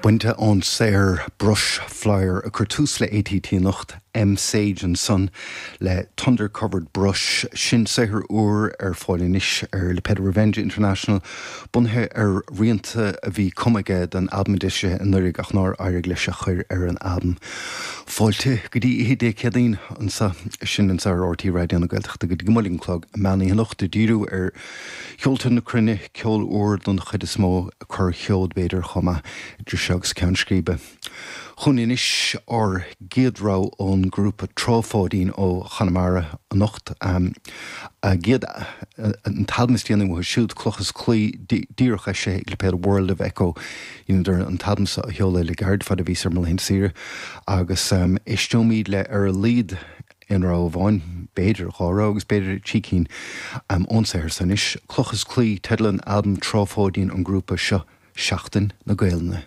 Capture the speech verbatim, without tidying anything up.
Bainte ón saothar Brush Flyer a chuir tús le ATT anocht M Sage ansan le Thunder Covered Brush sin saothar úr ar fáil anois ar lipéad Revenge International bunaithe ar rianta a bhí cumtha aige don albam d'eisigh anuraidh ach nár éirigh leis a chur ar an albam. Fáilte go dtí oíche Dé Céadaoin anseo sin anseo ar RTÉ Raidió na Gaeltachta go dtí go mbuailfidh an clog meán anocht ag díriú ar cheolta na cruinne ceol úr don chuid is mó corrsheoid b'fhéidir chomh maith idir seo agus ceann scríbe. Chugainn anois ár gcéad rogha ón ngrúpa Trá Pháidín ó Chonamara anocht um, a gcéad an t-albam is déanaí uathu siúd Cloch is Claí díreach eisithe ag lipéad World of Echo dheineadar an t-albam seo a sheoladh le gairid fad a bhí ar mo laethanta saoire agus um, éisteoimid le ar a laghad aon rogha amháin b'fhéidir dhá rogha agus b'fhéidir trí cinn um, ón saothar anois Cloch is Claí teideal an albam Trá Pháidín an grúpa seo Seachtain na Gaelainne.